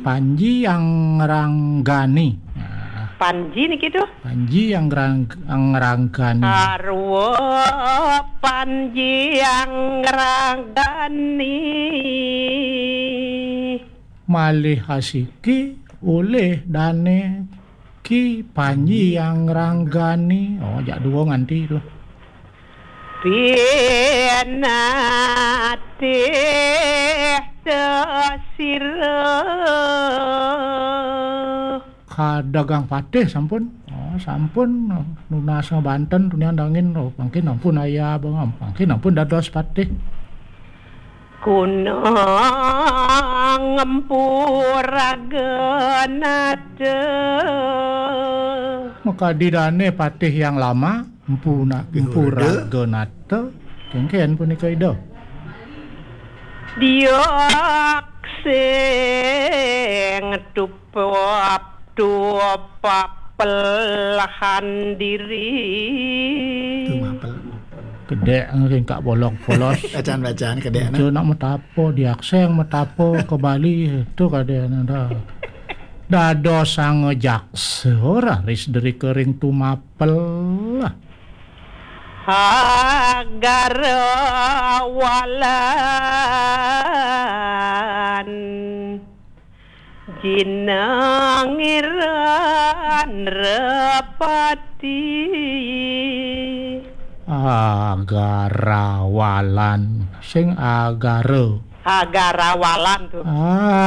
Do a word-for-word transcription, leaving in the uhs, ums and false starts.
Panji Angranggani. Nah, Panji niki tuh. Panji Anggrang Angranggani. Sarwa Panji Angranggani. Malih asiki olih dane Ki Panji Angranggani. Oh, jak dua nganti tuh. Pinatih sira. Kadagang patih sampun. Oh, sampun nunas banten tunian dangin. Oh, mangkin ampun ayah, mangkin ampun dados patih. Kunang empuraga nata. Makadi dane patih yang lama, empuna empuraga nata. Kengken punika ida. Diak sing tupap tupap pelahan diri. Tumapel. Kedek ringkak bolong polos. Bacaan-bacaan kedek, nah. Itu nak metapo, diakseng metapo ke Bali, itu kadek nanda. Dados sang jaksa raris deri kering tumapel. Agara walan jinangiran repati. Agara walan. Sing agara. Agara walan tuh. Ah,